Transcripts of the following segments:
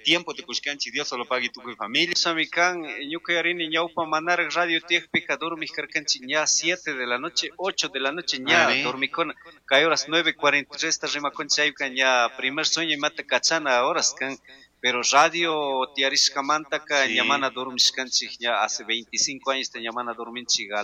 Tiempo tukushkanchik, Dios solo pague tukuy familia. Sami kan, ñuka yarini ñawpa manaraq radio tiyakpika dormij karkanchik ña 7 de la noche, 8 de la noche ña dormikuna. Kay horas 9:43 ta rimakunchik chayka ña primer sueño imata kachana horas kan. Pero radio tiyarishkamantaka ña mana dormishkanchik ña hace 25 años ta ña mana dorminchik a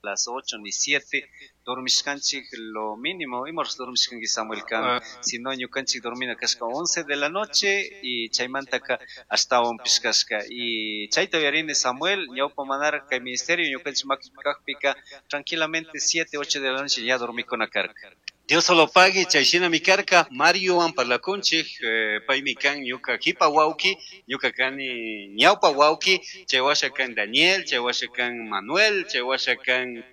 las 8 ni 7 dormishkanchik lo mínimo, ima horas dormishkanki Samuel kan, si no ñukanchik dormina kashka 11 de la noche y chaymantaka ashtawanpish kashka. Y chayta uyarini Samuel, ñawpa manara kay ministerio ñukanchik makipi kakpika tranquilamente 7, 8 de la noche ya dormikuna karka. Dios solo pague, chay shinami karka, Mariowan parlakunchik, paymi kan ñuka jipa wawki, ñuka kani ñawpa wawki, chay washa kan Daniel, chay washa kan Manuel, chay washa kan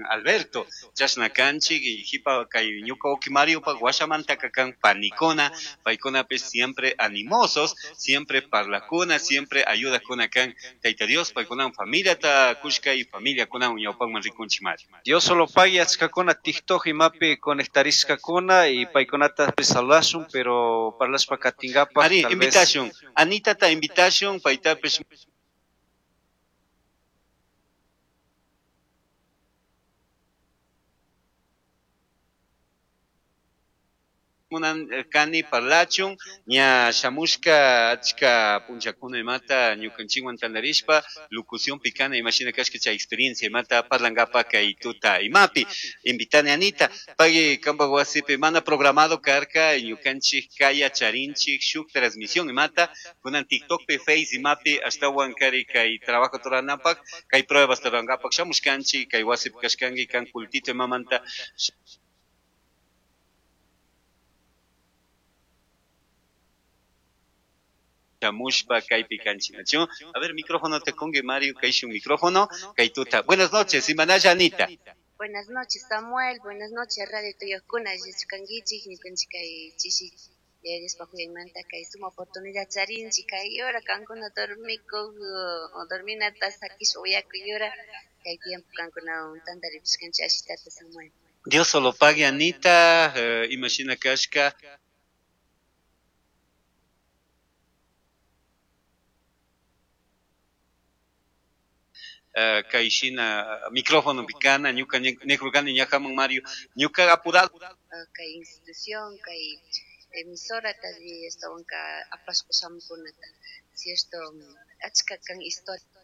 Alberto, chashna kanchik, y jipa kay ñuka wawki Mario pa washamantaka kan panikuna, paykunapish siempre animosos, siempre parlakuna, siempre ayudakuna kan Tayta Dios, paykunawan familiata kushka y familiakunawan ñawpakman rikunchik Mario. Dios solo pague achkakuna TikTok imapi conectarishkakuna y paykunatapish saludashun, pero parlashpa katinkapak, Ari, tal vez invitación. Anita ta invitación, paytapish munan kani parlachun, ña shamushka achka punchakuna imata ñukanchikwan tantarishpa locución picana imashina kashka chay experiencia imata parlankapa kay tuta imapi. Invitani Anita, pagui kampak wasipi mana programado karka ñukanchik kaya charinchik shuk transmisión imata kunan TikTokpi Face imapi ashtawan kari kay trabajo turanapak kay pruebas turankapak shamushkanchik kay wasipi kashkanki kan cultito imamanta shamushpa kaypi kanchinachu. A ver, micrófono te kungi, Mario, kay shun micrófono, kay tuta. Buenas noches, Imanaya Anita. Buenas noches, Samuel. Buenas noches, Radio Tuyokuna. Yachkankichik, ñukanchik kay chishi, Diospa juyaymanta kay suma oportunidad charinchik, kay hora kankuna dormikuk, o dorminata sakish uyakuy hora, kay tiempo kankunawan tantaripishkanchik ashitata, Samuel. Dios solo pague, Anita, imashina kashka. Kay shina micrófono picana, ñuka nekrukani ñakaman Mario, ñuka apurado. Kay institución, kay emisora tadi estaban ka apashpa shamukunata, cierto, achka kan historia.